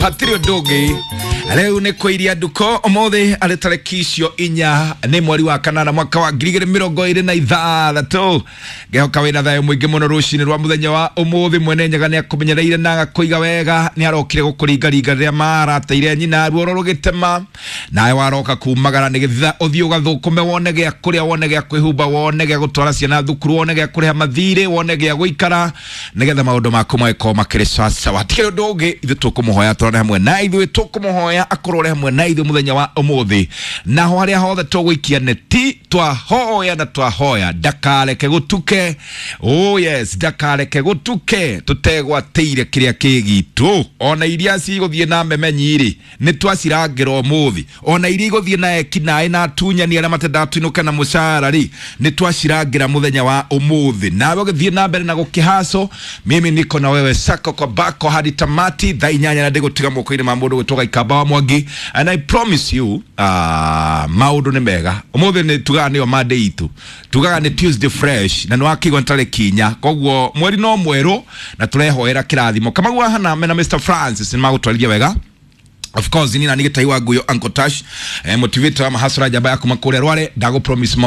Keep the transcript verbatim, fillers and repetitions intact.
Hatirĩ ũndũ ũngĩ. Rĩu nĩ kũiria nduko ũmũthĩ arĩ tarĩki icio inya nĩ mweri wa kanana mwaka wa ngiri igĩrĩ mĩrongo ĩrĩ na ithathatũ. Ngehoka wĩna thayũ mũingĩ mũno rũcinĩ rwa mũthenya wa ũmũthĩ. Mwene Nyaga nĩ akũmenyereire na agakũiga wega, nĩ arokire gũkũringaringa rĩrĩa marateire nyina ruoro rũgĩtema, nawe waroka kumagara nĩgetha ũthiĩ ũgathũkũme, wone gĩa kũrĩa, wone gĩa kwĩhumba, wone gĩa gũtwara ciana thukuru, wone gĩa kũrĩha mathirĩ, wone gĩa gũikara, nĩgetha maũndũ maku magĩkorwo makĩrĩ sawasawa. Hatikĩrĩ ũndũ ũngĩ, ithuĩ tũkũmũhoya tũrore hamwe na ithuĩ, tũkũmũhoya akorwo ũrĩ hamwe na ithuĩ mũthenya wa ũmũthĩ, naho harĩa hothe tũgũikia neti twahoya na twahoya ndakareke gũtuke. Oh yes, ndakareke gũtuke tũtegwatĩire kĩrĩa kĩ gitũ. Ona iria cigũthiĩ na memenyi-rĩ, nĩ twacirangĩra ũmũthĩ. Ona iria igũthiĩ na ekinaĩ na atunyani arĩa matendaga tuinũke na mũcara rĩ, nĩ twacirangĩra mũthenya wa ũmũthĩ. Nawe ũgĩthiĩ na mbere na gũkĩhaco, mimi niko na wewe sako kwa bako hadi tamati thaa inyanya, na ndĩgũtiga moko-inĩ ma mũndũ gwĩtwo Gaikamba wa Mwangi, and I promise you, uh, maũndũ nĩ mega ũmũthĩ. Nĩ tugaga nĩyo Monday itũ, tugaga nĩ Tuesday fresh, na nĩ wakĩigua nĩ tarĩki inya, koguo mweri no mwerũ na tũrehoera kĩrathimo. Kamau wa Haname na Mister Francis nĩ magũtwarithia wega. Of course ni nani gĩtai wa nguyo, Uncle Tash, eh, motivator wa mahasra, njamba ya kuma kũrĩa Rware. Ndagũ promise.